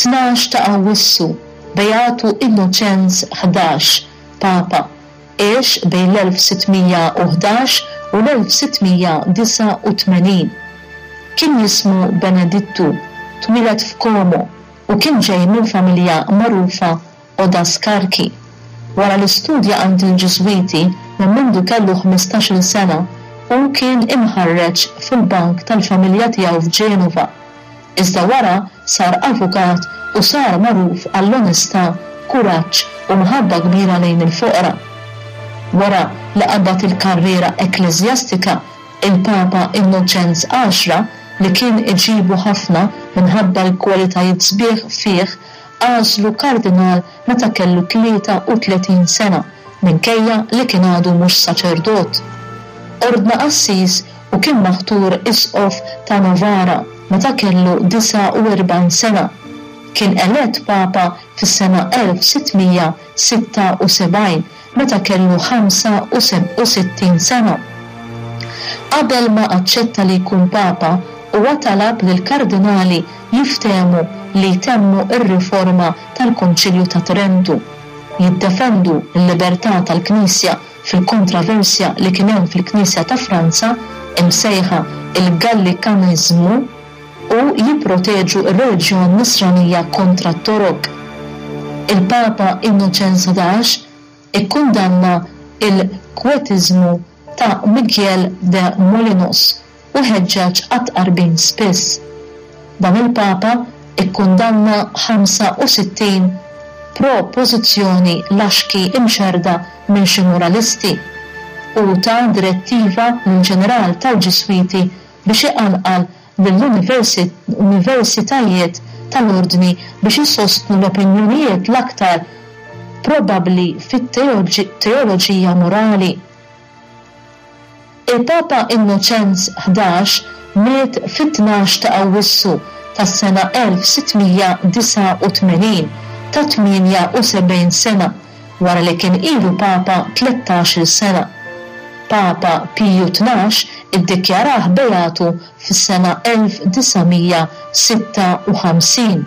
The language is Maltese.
12 ta' Awwissu, Beatu Innoċenz 11, Papa, għex bejn l-1611 u l-1689. Kien jismu Benedittu, twieled f'Como u kien ġej minn familja magħrufa Odascarchi. Wara li studja għand il-Ġiżwiti minn mindu kellu 15-il sena, hu kien imħarreġ fil-bank tal-familja tiegħu f'Ġenova. Iżda wara sar avukat u sar magħruf għall-onestà, kuraġġ u mħabba kbira lejn il-foqra. Wara li qabad il-karriera ekkleżjastika, il-Papa Innoċenz Għaxra, li kien iġibu ħafna minħabba l-kwalitajiet sbieħ fih, għażlu kardinal meta kellu 33 sena minkejja li kien għadu mhux saċerdot. Ordna qassis u kien maħtur isqof ta' Novara meta kellu 49 sena. Kien elett Papa fis-sena 1676 meta kellu 65 sena. Qabel ma aċċetta li jkun Papa, huwa talab lill-kardinali jiftehmu li jtemmu r-riforma tal-Konċilju ta' Trentu, jiddefendu l-libertà tal-Knisja fil-kontraversja li kien hemm fil-Knisja ta' Franza, imsejħa il-Gallikaniżmu, u jipproteġu r-reliġjon Nisranija kontra t-Torok. Il-Papa Innoċenz 11 ikkundanna l-Kwetiżmu ta' Miguel de Molinos u ħeġġeġ għat-tqarbin spiss. Dan il-Papa kkundanna 65 propożizzjoni laxki imxerrda minn xi moralisti u ta direttiva lill-ġeneral tal-Ġiswiti biex iqanqal lill-universitajiet tal-Ordni biex isostnu l-opinjonijiet l-aktar probabbli fit-teoloġija morali. Il-Papa Innoċenz 11 miet fit-12 ta' Awwissu tas-sena 1689 ta' 78 sena wara li kien ilu Papa 13-il sena. Papa Piju 12 iddikjarah beatu fis-sena 1956.